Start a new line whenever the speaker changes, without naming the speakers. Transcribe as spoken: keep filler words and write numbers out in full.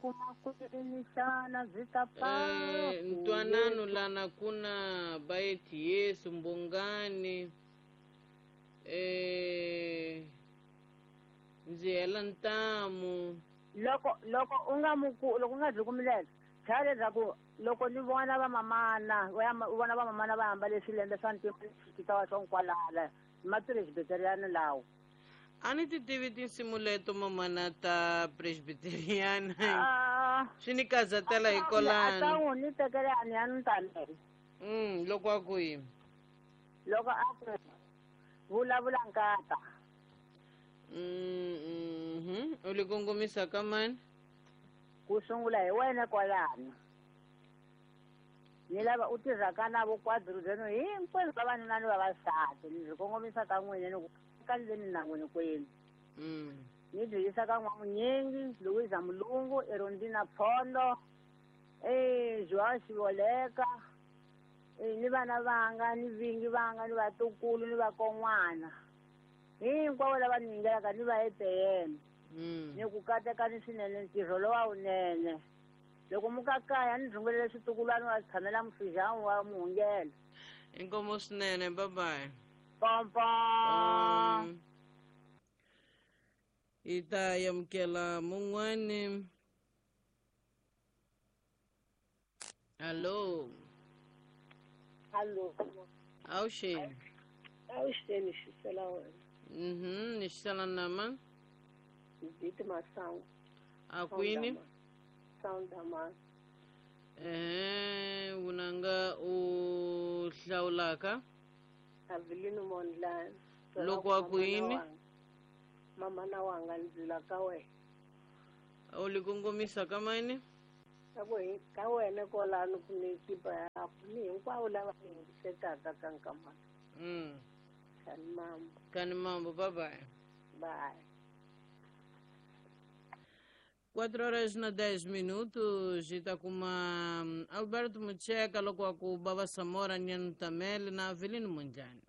kuma kwini xana byi ta
Eh, ntwanano lana kuna baeti Yesu mbongani eh ndzi hela ntamu
loko loko u nga muku loko u nga byi kumilele chaya leswaku loko ni vona vamamana u vona vamamana va ambale swilembe swa ntima xikitawa swo nkwalala mapresbiteriano lawo
a ni ti tivi tinsimu leto mamana ta presbiteriana swi ni kazatela hi kolani
a ta ni tekele a ni ya ni tamele
mm loko a ku yini
loko a ku vulavula nkata
mm mhm u li kongomisa ka mani
ku sungula hi wena kwalano ni lava u tirhaka na vo kwadruzeno hinkwenu vavanuna ni vavasati ni byi kongomisa ka n'wina ni ku ka ndzeni na n'wini kwenu ni byi yisa ka N'wamunyingi Louisa Mulungu Erondina Phondo eh Joao Xivoleka eh ni vana vanga ni vingi vanga ni vatukulu ni vakon'wana hinkwavo lava ni yingelaka ni va eteyeni ni ku katekani swinene ntirho lowa wunene loko mukakaya ni rhungelele switukulwana wa tshamela mufijani wa muhungelo
inkomo swinene bye bye
pompo
um, hi ta amukela mun'wani hallo
hallo
awuxeni
awuxeni xisela wena
mhm ni xisela nama
Ziti Masangu
a kwini
Soundaman
eh vunanga u hlawulaka
Avelino Mondlane
loko a ku yini
mama na wanga ndzila ka wena
u li kongomisa ka mani
ka ku ka wena kwalano ku ni ekipa yaku ni hinkwavo lava yingisetaka ka nkamana
mm
kani mambo
kani mambo bye bye
bye
quatro horas na dez minutos e tá com uma Alberto Mucheca loko a ku Baba Samora Nyanu Tamele na Avelino Mondlane.